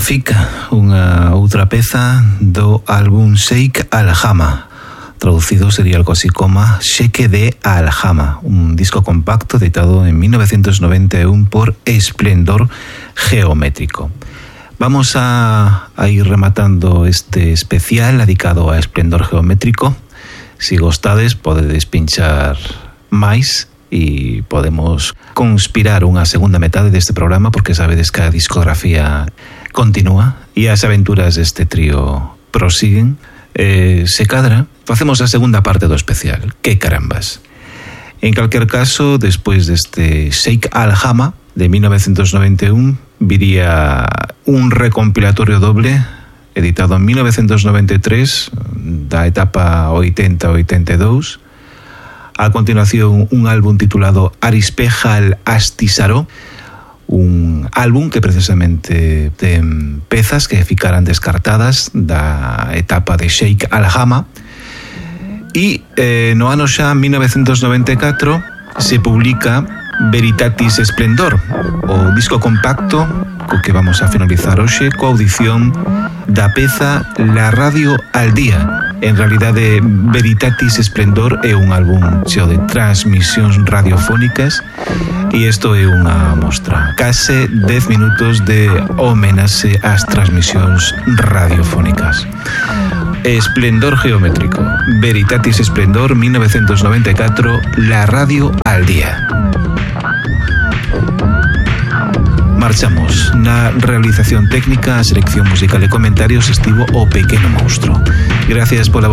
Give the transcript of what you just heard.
Rafika, unha outra peza do álbum Sheikh Al-Hama. Traducido sería algo así como Sheikh de Al-Hama, un disco compacto editado en 1991 por Esplendor Geométrico. Vamos a ir rematando este especial dedicado a Esplendor Geométrico. Si gostades, podedes pinchar máis e podemos conspirar unha segunda metade deste programa, porque sabedes que a discografía continúa e as aventuras deste trío prosiguen. Se cadra, facemos a segunda parte do especial. Que carambas. En calquer caso, despois deste Sheikh Al-Hama de 1991, viría un recompilatorio doble editado en 1993 da etapa 80-82. A continuación, un álbum titulado Arispejal Astisaro, un álbum que precisamente ten pezas que ficaran descartadas da etapa de Sheikh Al-Hama. E no ano xa 1994 se publica Veritatis Esplendor, o disco compacto co que vamos a finalizar hoxe, coa audición da peza La Radio al Día. En realidade, Veritatis Esplendor é un álbum cheo de transmisións radiofónicas e isto é unha mostra. Case 10 minutos de homenaxe ás transmisións radiofónicas. Esplendor Geométrico, Veritatis Esplendor 1994, La Radio al Día. Marchamos. Na realización técnica, a selección musical e comentarios estivo o Pequeno Monstro. Gracias pola